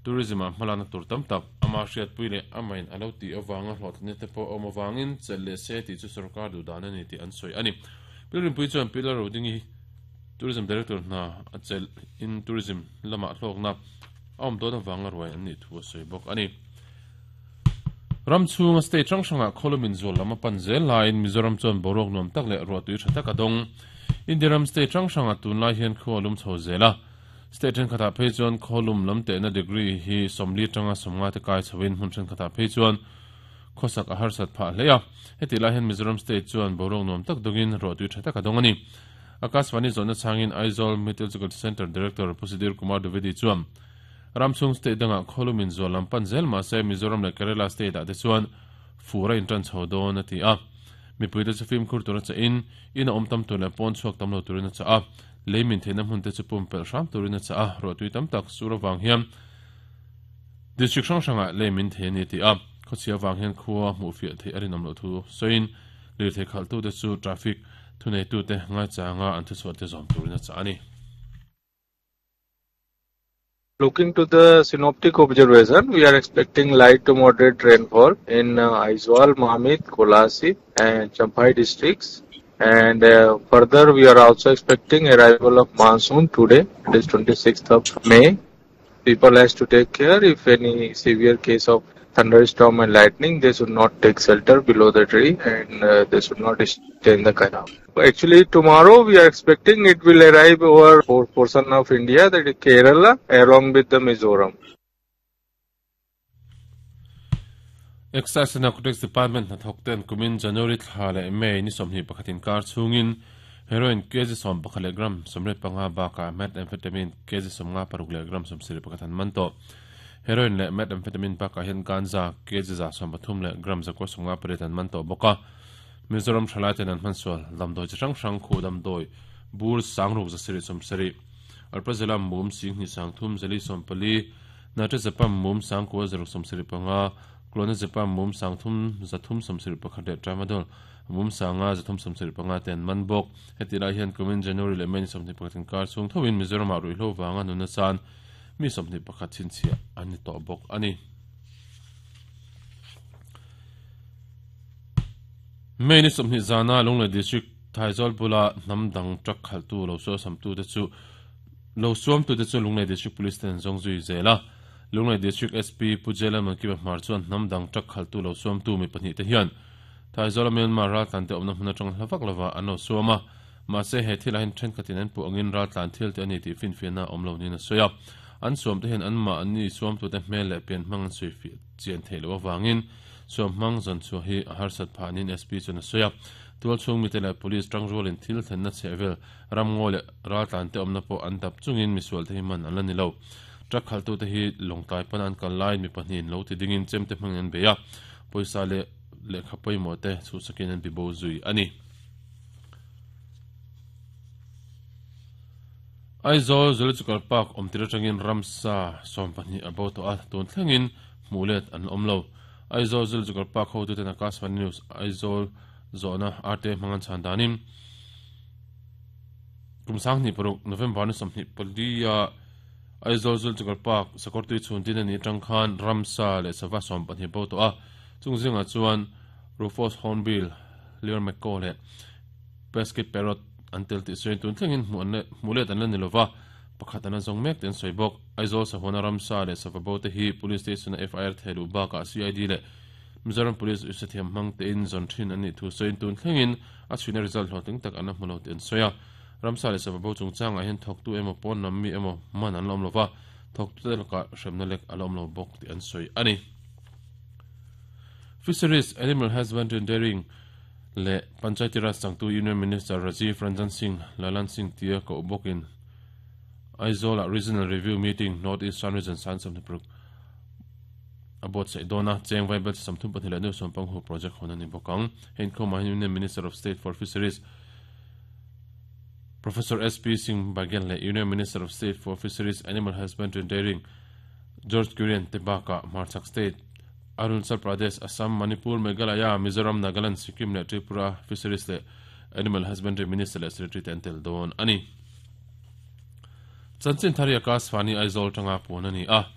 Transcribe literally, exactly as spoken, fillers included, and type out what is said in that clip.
Tourism a hmalana tur tam tak ama hriat pui leh amain alo ti awanga hlawhtlinna te pawh awm awangin chelh leh se tih chu sarkar duh dan ani tih an sawi ani. Pilrin pui chuan Pilar Rodingi Tourism Director hna a chelh in tourism lama hlawkna a awm dawn awanga ruai an nih thu a sawi bawk ani. Ramchhunga state hrang hranga khawlumin zual lam a pan zel laiin Mizoram chuan boruak nuam tak leh ruah tui tha tak a dawng. India ram state hrang hranga tunlai hian khaw a lum chho zel a. State then khatah phei chuan khawlum lam tehna degree hi sawmli atanga sawmnga te kai chhoin hmun then khatah phei chuan khawsak a harsat phah hle a. Heti lai hian Mizoram state chuan boruak nuam tak dawngin ruah tui tha tak a dawng ani. Akashvani zawhna changin Aizawl Meteorological Centre Director Pu Sudhir Kumar Dwivedi chuan Ramchhung state danga khawlumin zual lam pan zel mahse Mizoram leh Kerala state ah te chuan fur a intan chho dawn a ti a. Mipui te chu fimkhur tur a cha in in a awm tam tur leh pawn chhuak tam lo turin a cha a. Leimin theihna hmun te chu pum pelh hram turin a cha a. Ruah tui tam tak sur awang hian district hrang hrangah leimin thei ani ti a. Khawchhia awang hian khua hmuh fiah theih a rinawm loh thu sawiin lirthei khalh tu te chu traffic thunei tu te ngai changa an thuchhuah te zawm turin a cha ani. Looking to the synoptic observation, we are expecting light to moderate rainfall in uh, Aizawl, Mamit, Kolasib and Champhai districts. And uh, further, we are also expecting arrival of monsoon today, it is twenty-sixth of May. People has to take care if any severe case of thunderstorm and lightning, they should not take shelter below the tree and uh, they should not stay in the canal. Actually, tomorrow we are expecting it will arrive over four portion of India, that is Kerala, along with the Mizoram. Excise and Narcotics Department na thokten kumin January thla leh May ni sawmhnih pakhatin kar chhungin heroin kg sawm pakhat leh gram sawmriat panga bakah methamphetamine kg sawmnga paruk leh gram sawmsarih pakhat an man tawh. Heroin leh methamphetamine bakah hian ganja kg za sawm pathum leh gram zakua sawmnga pariat an man tawh bawk a. Mizoram thalai ten an hmansual damdawi chi hrang hrang khu damdawi bur sangruk zasarih sawmsarih alprazolam mum singhnih sangthum zali sawmpali nitrazepam mum sangkua zaruk sawmsarih panga clonazepam mum sangthum zathum sawmsarih pakhat leh tramadol mum sanga zathum sawmsarih panga te an man bawk. Heti lai hian kumin January leh May ni sawmhnih pakhatin kar chhung thovin Mizoramah ruihhlo wanga nuna chan mi sawmhnih pakhat chhinchhiah an ni tawh bawk ani. May ni sawmhnih zana Lunglei district Thaizawlbula bula hnam dang truck khaltu lo sual samtu te chu lo suam tu te chu Lunglei district police ten zawng zui zel a. Lunglei district S P Pujela Mankiba Hmar chuan hnam dang truck khaltu lo suam tu mi pahnih te hian Thaizawla Myanmar raltlan te awmna hmun atang hlavak lova an lo suam a. Mahse he thil ah hian thenkhatin an puh angin raltlan thil te ani tih finfiahna awm lo niin a sawi a. An suam te hian an mah anni suam tu te hmel leh pian hmang an sawi fiah chian theih loh awangin suam hmang zawn chhuah hi a harsat phah nin S P chuan a sawi a. Tual chhung mi te leh police tang rualin thil thlenna chhehvel ramngaw leh raltlan te awmna pawh an dap chungin misual te hi man an la ni lo. Truck khaltu te hi lawngtlai pan an kal lai mi pahnihin lo ti dingin chem te hmangin an bei a. Pawisa leh lehkha pawimawh te chhuhsakin an bibo zui ani. Aizawl Zoological Park awm tir atangin ramsa sawm pahnih a bo tawh a, tun thlengin hmuh let an awm lo. Aizawl Zoological Park hotu ten Akashvani News Aizawl zawhna R T hmangan chhan danin kum sanghnih paruk November ni sawmhnih pali a Aizawl Zoological Park sakawrtui chhun tin ani atang khan ramsa leh sava sawm pahnih bo tawh a. Chung zingah chuan Rufous Hornbill, Lear Macaw leh Pesky Parrot an tel tih sawiin tun thlengin hmuh let an la ni lova. Pakhat an zawng mek te an sawi bawk. Aizawl sahuna ramsa leh sava bo te hi police station a F I R thehluh bakah C I D leh Mizoram Police usathiam hmang te in zawn thin an nih thu sawiin tun thlengin a chhuina result hlawhtling tak an la hmu lo te an sawi a. Ramsa leh sava bo chungchangah hian thawktu emaw pawn lam mi emaw man an la awm lova, thawktu te lakah hremna lek a la awm lo bawk tih an sawi ani. Fisheries, Animal Husbandry and Dairying leh Panchayati Raj changtu Union Minister Rajiv Ranjan Singh Lalan Singh tia ko bawkin Aizawl Regional Review Meeting North Eastern Region san sawmhnih paruk a buat saih dawn a. Cheng vaibel chi sawmthum pahnih leh nuai sawm panghu project hawn ani bawk ang. Hei inkhawmah hian Union Minister of State for Fisheries Professor S P Singh Baghel leh Union Minister of State for Fisheries, Animal Husbandry and Dairying George Kurian te bakah Hmarchhak State, Arunachal Pradesh, Assam, Manipur, Meghalaya, Mizoram, Nagaland, Sikkim leh Tripura Fisheries leh Animal Husbandry Minister leh Secretary te an tel dawn ani. Chanchin thari Akashvani Aizawl tanga puan ani a.